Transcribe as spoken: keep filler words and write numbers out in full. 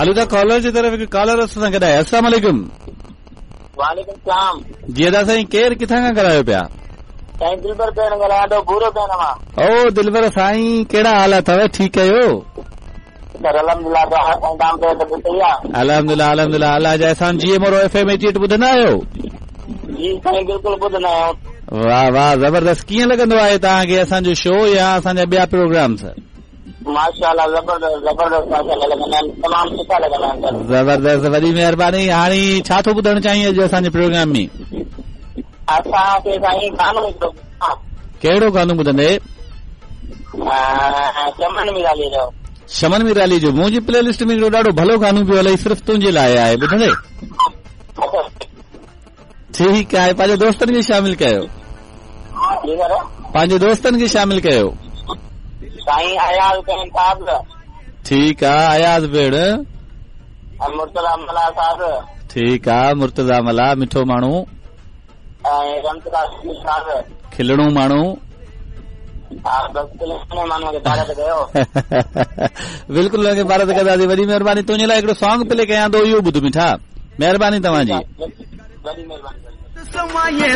هلون ٿا ڪالر جي طرف. هڪ ڪالر اسان سان گڏ آهي. السلام عليڪم. وعليڪم سلام. جي ادا سائين، ڪير، ڪٿان کان ڳالهايو پيا؟ سائين، دلبر پيڻ ڳالهايان ٿو، ڀورو پيڻ مان. او دلبر سائين، ڪهڙا حال اٿو؟ ٺيڪ آهيو؟ سر، الحمدلله. سائين، توهان ٻڌايو، طبيعت صحيح آهي؟ الحمدلله، الحمدلله، الله جا احسان. جي Moro F M eighty eight ٻڌندا آهيو؟ جي سائين، بلڪل ٻڌندا آهيون. واهه واهه، زبردست. ڪيئن لڳندو آهي توهان کي اسان جو شو يا اسان جا ٻيا پروگرامس؟ ماشاءالله، زبردست زبردست، ماشاءالله لڳندا آهن، تمام سٺا لڳندا آهن سر. زبردست، وڏي مهرباني. هاڻي ڇا ٿو ٻڌڻ چاهين اڄ اسان جي پروگرام ۾؟ اسان کي سائين گانو هڪڙو. ڪهڙو گانو ٻڌندي؟ چمن ميرالي جو. چمن ميرالي جو؟ منهنجي پلي لسٽ ۾ هڪڙو ڏاڍو ڀلو گانو پيو هلي، صرف تنهنجي لاءِ آهي، ٻڌندي؟ ٺيڪ آهي، پنهنجي دوستن کي شامل ڪيو. جي سر. پنهنجي دوستن کي شامل ڪيو. سائين، اياز ڪين صاحب. ٺيڪ آهي، اياز ڀيڻ. ۽ مرتضيٰ ملاح صاحب. ٺيڪ آهي، مرتضيٰ ملاح، مٺو ماڻهو. ۽ رمتراج صاحب. کلڻو ماڻهو. ها، بس کلڻي ماڻهوءَ کي پارت ڪيو. بلڪل، هن کي پارت ڪنداسين. وڏي مهرباني. تنهنجي لاءِ هڪڙو سانگ پلي ڪيان ٿو، اهو ٻڌ مٺا. مهرباني توهان جي. وڏي مهرباني.